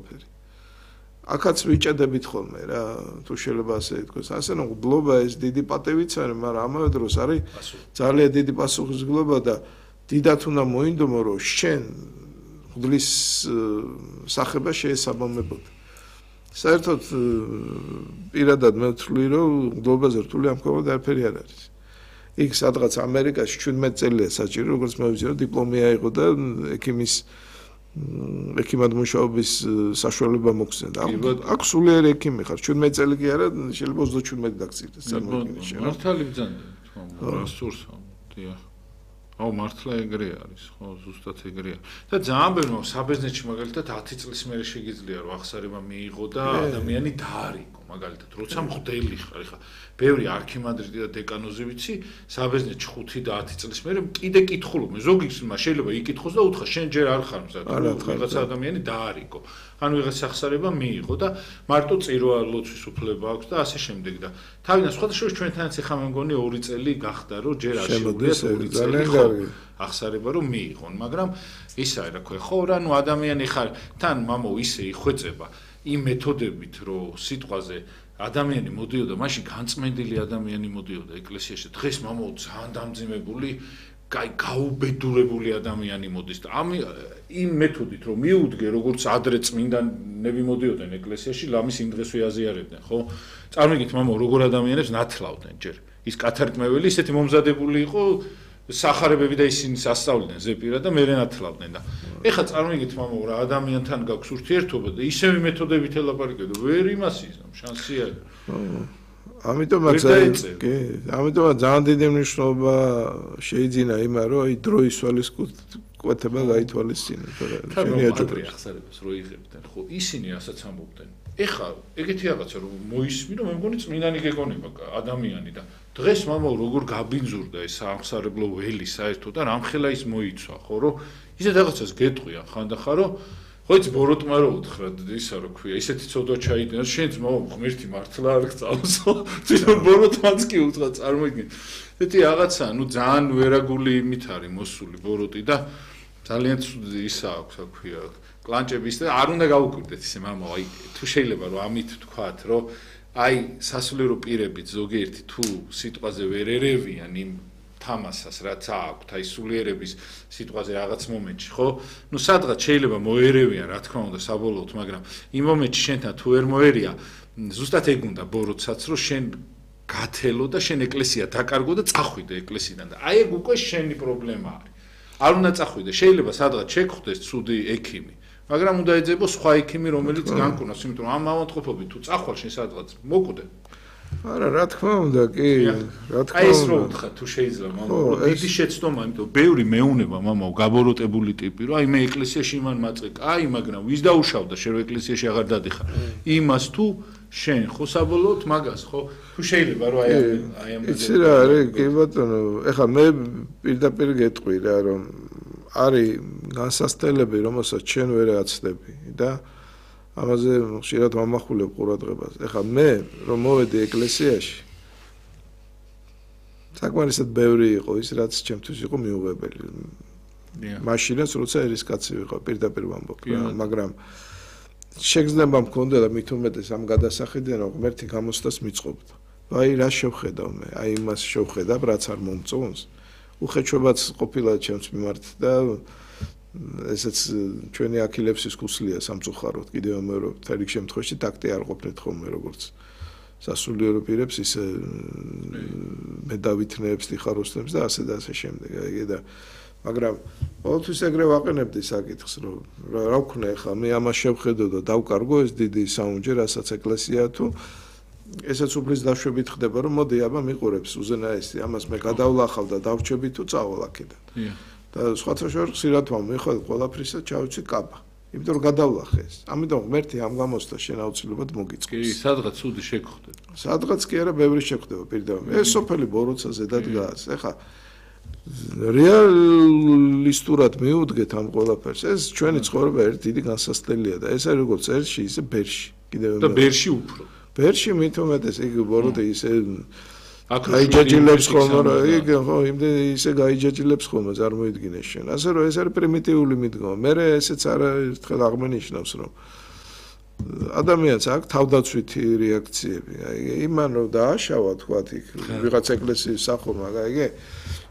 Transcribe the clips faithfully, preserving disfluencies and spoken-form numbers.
ყველაფერი. აქაც ვიჭედებით ხოლმე რა, თუ შეიძლება ასე ითქვას. ასე რომ გლობა ეს დიდი პატივიც არის, მაგრამ ამავე დროს არის ძალიან დიდი პასუხისმგებლობა და დიდათ უნდა მოინდომო, რომ შენ ღვთის სახება შეესაბამებოდა. საერთოდ პირადად მე ვთვლი, რომ გლობაზე რთული ამ ქვემოთ არაფერი არ არის. იქ სადღაც ამერიკაში ჩვიდმეტ წელია საჭირო, როგორც მე ვიცი, რომ დიპლომი აიღო და ექიმის ექიმად მუშაობის საშუალება მოგცნდა. აქ სულიერი ექიმი ხარ, ჩვიდმეტ წელი კი არა, შეიძლება ოცდაშვიდმეტი დაგწირდეს წარმოიდგინე შენ. მართალი ბრძანდა, თქო, რასურსა, დიახ. აუ მართლა ეგრე არის, ხო, ზუსტად ეგრეა. და ძალიან ბევრი საბერძნეთში მაგალითად ათი წლის მერე შეგიძლია რომ აღსარება მიიღო და ადამიანი დაარიგო, მაგალითად, როცა მღვდელი ხარ, ეხა ბევრი არქიმანდრიტი და დეკანოზი ვიცი, საბერძნეთში ხუთი და ათი წლის მერე კიდე კითხულობენ. ზოგი შეიძლება იკითხოს და უთხრა, შენ ჯერ არ ხარ მზად, ვიღაცა ადამიანი დაარიგო. ანუ ვიღაც აღსარება მიიღო და მარტო წირვა ლოცვის უფლება აქვს და ასე შემდეგ და თავიდან სხვადასხვა ჩვენთანაც ეხა მე მგონი ორი წელი გახდა რომ ჯერ არ შეუძლიათ ორი წელი აღსარება რომ მიიღონ, მაგრამ ისა რა ქვია, ხო რა, ნუ ადამიანი ხარ, თან მამო ისე იხვეწება იმ მეთოდებით, რომ სიტყვაზე ადამიანი მოდიოდა, მაშინ განწმენდილი ადამიანი მოდიოდა ეკლესიაში. დღეს მამო ძალიან დამძიმებული კაი გაუბედურებული ადამიანი მოდის და ამ იმ მეთოდით რომ მიუდგე როგორც ადრე წმინდანები მოდიოდნენ ეკლესიაში, ლამის იმ დღესვე აზიარებდნენ, ხო? წარმოგიდგენთ მამო როგორ ადამიანებს ნათლავდნენ ჯერ. ის კათარგმნელი ისეთი მომზადებული იყო, სახარებები და ისინი სასწავლდნენ ზეპირად და მერე ნათლავდნენ და ეხლა წარმოგიდგენთ მამო რა ადამიანთან გაქვს ურთიერთობა და ისევი მეთოდებით ელაპარაკებდა, ვერ იმას იზამ, შანსი არ. ამიტომაც კი, ამიტომაც ძალიან დიდი მნიშვნელობა შეიძინა იმას, რომ აი დროის სულისკვეთება გაითვალისწინა, თორე შენი აჯობებს ახსარებას რო იღებდნენ, ხო, ისინი რასაც ამბობდნენ. ეხლა ეგეთი რაღაცა რომ მოისმინო, მე მგონი წმინდანი გეკონება ადამიანი და დღეს მამო როგორ გაბინძურდა ეს აღსარებლო ველი საერთოდ და რამხელა ის მოიცვა, ხო, რომ ისე რაღაცას გეტყვიან ხანდახან, რომ ხო იცი ბოროტმა რო უთხრა ისა რო ქვია, ისეთი ცოდვა ჩაიდინა, შენც მამო ღმერთი მართლა არ გწავსო, თვითონ ბოროტმაც კი უთხრა, წარმოიდგინე. ესეთი რაღაცა, ნუ ძალიან ვერაგული იმით არის მოსული ბოროტი და ძალიან ისა აქვს, რა ქვია, კლანჭების და არ უნდა გაუკვირდეთ ისე მამო, აი თუ შეიძლება რომ ამით თქვათ, რომ აი სასულიერო პირებით ზოგიერთი თუ სიტყვაზე ვერ ერევიან იმ თამასას რაც აქვთ, აი სულიერების სიტყვაზე რაღაც მომენტში, ხო? ნუ სადღაც შეიძლება მოერევიან, რა თქმა უნდა, საბოლოოდ, მაგრამ იმ მომენტში შენთან თუ ვერ მოერია, ზუსტად ეგ უნდა ბოროტსაც, რომ შენ გათელო და შენ ეკლესია დაკარგო და წახვიდე ეკლესიიდან და აი ეგ უკვე შენი პრობლემა არის. არ უნდა წახვიდე, შეიძლება სადღაც შეგხვდეს ცუდი ექიმი, მაგრამ უნდა ეძებო სხვა ექიმი, რომელიც განკურნავს, იმიტომ რომ ამ ავადმყოფობით თუ წახვალ შენ სადღაც მოკვდე. არა, რა თქმა უნდა, კი, რა თქმა უნდა. აი ეს რო უთხრა, თუ შეიძლება, მამო, დიდი შეცდომა, იმიტომ ბევრი მეუნება, მამო, გაბოროტებული ტიპი, რომ აი მე ეკლესიაში იმან მაწყე, კაი, მაგრამ ვის დაუშავდა, შენ ეკლესიაში აღარ დადიხარ. იმას თუ შენ ხო საბოლოოდ მაგას, ხო? თუ შეიძლება რომ აი აი ამ იცი რა არის, კი ბატონო, ეხლა მე პირდაპირ გეტყვი რა, რომ არის განსასწრებელი, რომელსაც შენ ვერ აცდები და ამაზე ხშირად ვამახვილებ ყურადღებას. ეხლა მე რომ მოვედი ეკლესიაში, საკმარისად ბევრი იყო ის, რაც ჩემთვის იყო მიუღებელი. მაშინაც როცა ერის კაცი ვიყავ, პირდაპირ ვამბობ, მაგრამ შეგრძნება მქონდა და მით უმეტეს ამ გადასახედიდან რომ ღმერთი გამოცდას მიწყობდა. აი რა შევხედავ მე, აი იმას შევხედავ, რაც არ მომწონს. უხეჩვებაც ყოფილა ჩემს მიმართ და ესეც ჩვენი აქილევსის ქუსლია სამწუხაროდ, კიდევ ამერობ, თერიქ შემთხვევაში ტაქტი არ ყოფნით ხოლმე როგორც სასულიერო პირებს, ისე მე დავითნეებს, დიხაროსნებს და ასე და ასე შემდეგ. აი და მაგრამ ყოველთვის ეგრე ვაყენებდი საკითხს, რომ რა ვქნა ახლა მე ამას შევხედო და დავკარგო ეს დიდი საუნჯე, რასაც ეკლესია თუ ესაც უფლის დაშვებით ხდება, რომ მოდი აბა მიყურებს უზენაესი, ამას მე გადავლახავ და დავრჩები თუ წავალ აქედან. და სხვათა შორის ხშირად ვამეხვალ ყველაფრისა ჩავიცი კაბა. იმიტომ რომ გადავლახე ეს. ამიტომ ღმერთი ამ გამოცდა შენ აუცილებლად მოგიწყობს. კი, სადღაც ცუდი შეგხვდება. სადღაც კი არა, ბევრი შეგხვდება პირდაპირ. ეს სოფელი ბოროცა ზედად გაას. ეხა რეალისტურად მიუდგეთ ამ ყველაფერს. ეს ჩვენი ცხოვრება ერთ დიდი განსასწრელია და ეს არის როგორც ერთში, ისე ბერში. კიდევ და ბერში უფრო. ბერში მით უმეტეს იგი ბოროტე ისე გაიჯაჯილებს ხოლმე რა, იგი ხო, იმდენ ისე გაიჯაჯილებს ხოლმე, წარმოიდგინე შენ. ასე რომ ეს არის პრიმიტიული მიდგომა. მე ესეც არა ერთხელ აღმენიშნავს, რომ ადამიანს აქვს თავდაცვითი რეაქციები. აი იმან რომ დააშავა თქვა იქ ვიღაც ეკლესიის სახურმა, გაიგე?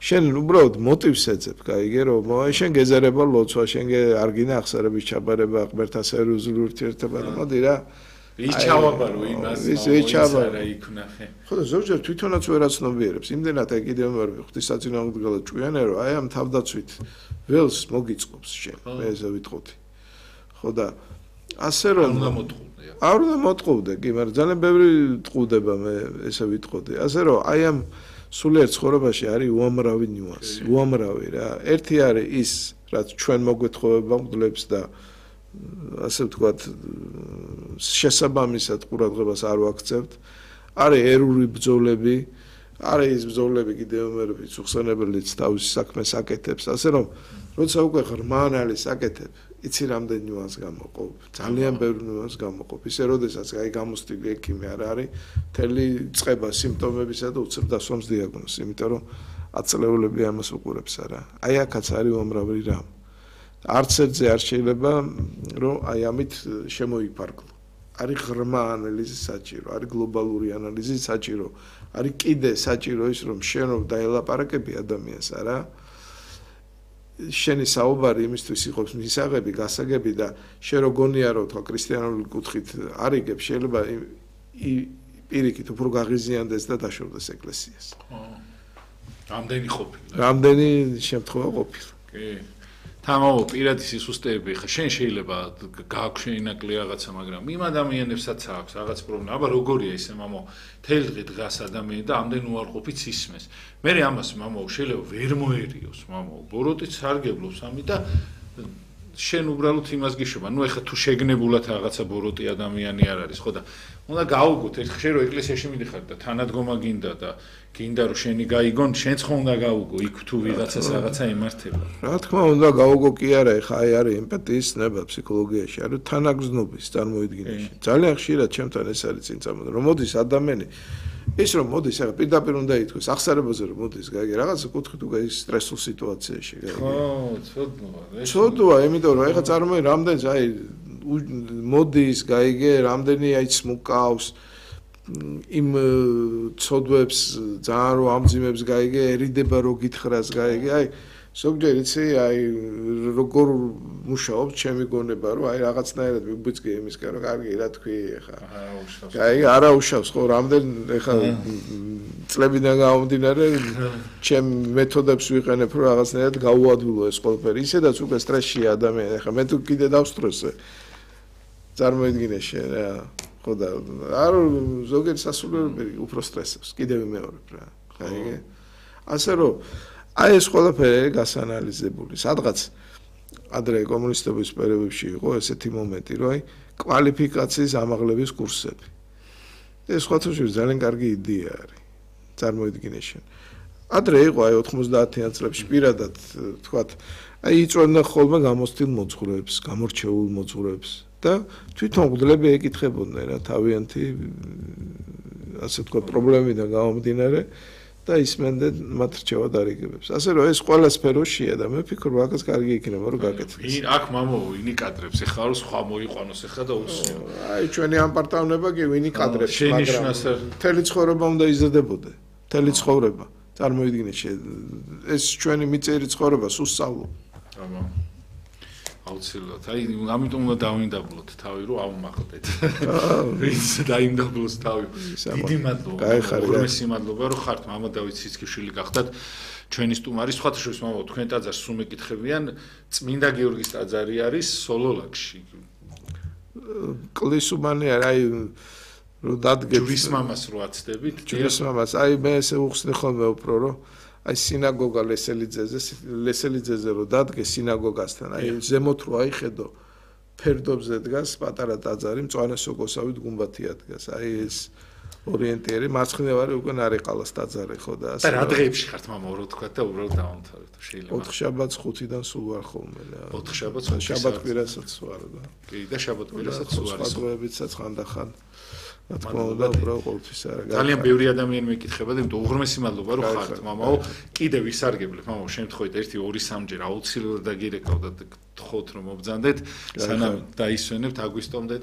შენ უბრალოდ მოტივს ეძებ, გაიგე რომ შენ გეზარება ლოცვა, შენ არ გინდა აღსარების ჩაბარება, ღმერთთან სერიოზული ურთიერთობა და მოდი რა. ის ჩავაბარო იმას, რა იქნახე. ხო და ზოგჯერ თვითონაც ვერ აცნობიერებს. იმდენად აი კიდევ მე ღვთისაწინააღმდეგელად ჭვიანერო, აი ამ თავდაცვით ველს მოგიწყობს შენ. მე ესე ვიტყოდი. ხო და ასე რომ არ უნდა მოტყუდე. არ უნდა მოტყუდე, კი, მაგრამ ძალიან ბევრი ტყუდება მე ესე ვიტყოდი. ასე რომ აი ამ სულიერ ცხოვრებაში არის უამრავი ნიუანსი, უამრავი რა. ერთი არის ის, რაც ჩვენ მოგვეთხოვება მგლებს და ასე ვთქვათ, შესაბამისად ყურადღებას არ ვაქცევთ. არის ერური ბრძოლები, არის ის ბრძოლები კიდევ მე ვიხსენებელიც თავის საქმეს აკეთებს, ასე რომ როცა უკვე ღრმანალი საკეთებ, იცი რამდენი ნიუანს გამოყოფ, ძალიან ბევრი ნიუანს გამოყოფ. ისე როდესაც აი გამოსტილი ექიმი არ არის, მთელი წყება სიმპტომებისა და უცებ დასვამს დიაგნოზს, იმიტომ რომ აწლეულები ამას უყურებს არა. აი აქაც არის უამრავი რამ. არც ერთზე არ შეიძლება რომ აი ამით შემოიფარგლო. არის ღრმა ანალიზი საჭირო, არის გლობალური ანალიზი საჭირო, არის კიდე საჭირო ის რომ შენ რომ დაელაპარაკები ადამიანს არა შენი საუბარი იმისთვის იყოს მისაღები, გასაგები და შენ რო გონია რომ თქვა ქრისტიანული კუთხით არიგებ, შეიძლება პირიქით უფრო გაღიზიანდეს და დაშორდეს ეკლესიას. ხო. რამდენი ყოფილა? რამდენი შემთხვევა ყოფილა. კი. თამაო პირადი სისუსტეები ხა შენ შეიძლება გააქვს შენინაკლი რაღაცა, მაგრამ იმ ადამიანებსაც აქვს რაღაც პრობლემა. აბა როგორია ისე მამო, თელ დღე დგას ადამიანი და ამდენ უარყოფით ისმეს. მე ამას მამო შეიძლება ვერ მოერიოს, მამო, ბოროტით სარგებლობს ამი და შენ უბრალოდ იმას გიშობა. ნუ ეხლა თუ შეგნებულად რაღაცა ბოროტი ადამიანი არ არის, ხო და უნდა გაუგოთ ერთ ხე რომ ეკლესიაში მიდიხარ და თანადგომა გინდა და გინდა რომ შენი გაიგონ, შენც ხო უნდა გაუგო იქ თუ ვიღაცას რაღაცა ემართება. რა თქმა უნდა გაუგო კი არა, ეხა აი არის ემპათიის ნება ფსიქოლოგიაში, არის თანაგზნობის წარმოიდგინაში. ძალიან ხშირად ჩემთან ეს არის წინ წამოდა, რომ მოდის ადამიანი ის რომ მოდის, ახლა პირდაპირ უნდა ითქვას, ახსარებაზე რომ მოდის, გაიგე, რაღაცა კუთხით უკვე ის სტრესულ სიტუაციაში, გაიგე. ხო, ცოდნოა. ცოდნოა, იმიტომ რომ ეხლა წარმოიდგინე, რამდენს აი მოდის, გაიგე, რამდენი აი smukავს იმ ცოდვებს ძალიან რო ამძიმებს, გაიგე,ერიდება რო გითხრას, გაიგე, აი ზოგჯერ იცი, აი როგორ მუშაობს ჩემი გონება, რომ აი რაღაცნაირად მიბიძგე იმისგან, რომ კარგი, რა თქვი ეხა. გაიგე, არა უშავს, ხო, რამდენ ეხა წლებიდან გამომდინარე, ჩემ მეთოდებს ვიყენებ, რომ რაღაცნაირად გაუადვილო ეს ყველაფერი. ისედაც უკვე სტრესშია ადამიანი, ეხა მე თუ კიდე დავსტრესე. წარმოიდგინე შენ რა, ხო და არ ზოგიერთ სასულიერობები უფრო სტრესებს, კიდევ მეორებ რა, გაიგე? ასე რომ აი ეს ყველაფერი გასაანალიზებული. სადღაც ადრე კომუნისტების პერიოდში იყო ესეთი მომენტი, რომ აი კვალიფიკაციის ამაღლების კურსები. ეს სხვათაშორის ძალიან კარგი იდეა არის. წარმოიდგინე შენ. ადრე იყო აი ოთხმოცდაათიან წლებში პირადად თქვათ, აი იწვევდნენ ხოლმე გამოცდილ მოძღვრებს, გამორჩეულ მოძღვრებს და თვითონ მგლები ეკითხებოდნენ რა თავიანთი ასე თქვათ პრობლემიდან გამომდინარე. და ისმენდნენ მათ რჩევა დარიგებებს. ასე რომ ეს ყველა სფეროშია და მე ვფიქრობ, აქაც კარგი იქნება რომ გაკეთდეს. აქ მამო ვინი კადრებს, ეხლა რომ სხვა მოიყვანოს ეხლა და უსიო. აი ჩვენი ამ პარტავნება კი ვინი კადრებს, მაგრამ მთელი ცხოვრება უნდა იზრდებოდე. მთელი ცხოვრება. წარმოიდგინე ეს ჩვენი მიწერი ცხოვრება სუსწავლო. აბა. აუცილებლად. აი ამიტომ უნდა დავინდაბლოთ თავი რომ აუმახლდეთ. ვინც დაინდაბლოს თავი. დიდი მადლობა. უღრმესი მადლობა რომ ხართ მამა დავით ციცქიშვილი გახდათ ჩვენი სტუმარი. სხვათა შორის მამა თქვენ ტაძარს სულ მეკითხებიან, წმინდა გიორგის ტაძარი არის სოლოლაკში. კლისუმანი აი რომ დადგეთ ჯვრის მამას რო აცდებით. ჯვრის მამას. აი მე ესე უხსნი ხოლმე უფრო რომ აი სინაგოგა ლესელიძეზე ლესელიძეზე რო დადგეს სინაგოგასთან აი ზემოთ რო აიხედო ფერდობზე დგას პატარა ტაძარი მწვანე სოკოსავით გუმბათია დგას აი ეს ორიენტიერი მარცხნივარი უკვე ნარიყალას ტაძარი ხო და ასე რა დღეებში ხართ მამა რო თქვა და უბრალოდ დავამთავრეთ შეიძლება ოთხ შაბათს ხუთიდან სულ ვარ ხოლმე რა ოთხ შაბათს შაბათ-კვირასაც ვარ და კი და შაბათ-კვირასაც ვარ სხვადღებებიცაც ხანდახან რა თქმა უნდა უბრალოდ ყოველთვის არა ძალიან ბევრი ადამიანი მეკითხება და იმიტომ უღრმესი მადლობა რომ ხართ მამაო კიდევ ვისარგებლებ მამაო შემთხვევით ერთი ორი სამჯერ აუცილებლად დაგირეკავ და გთხოვთ რომ მობძანდეთ სანამ დაისვენებთ აგვისტომდე და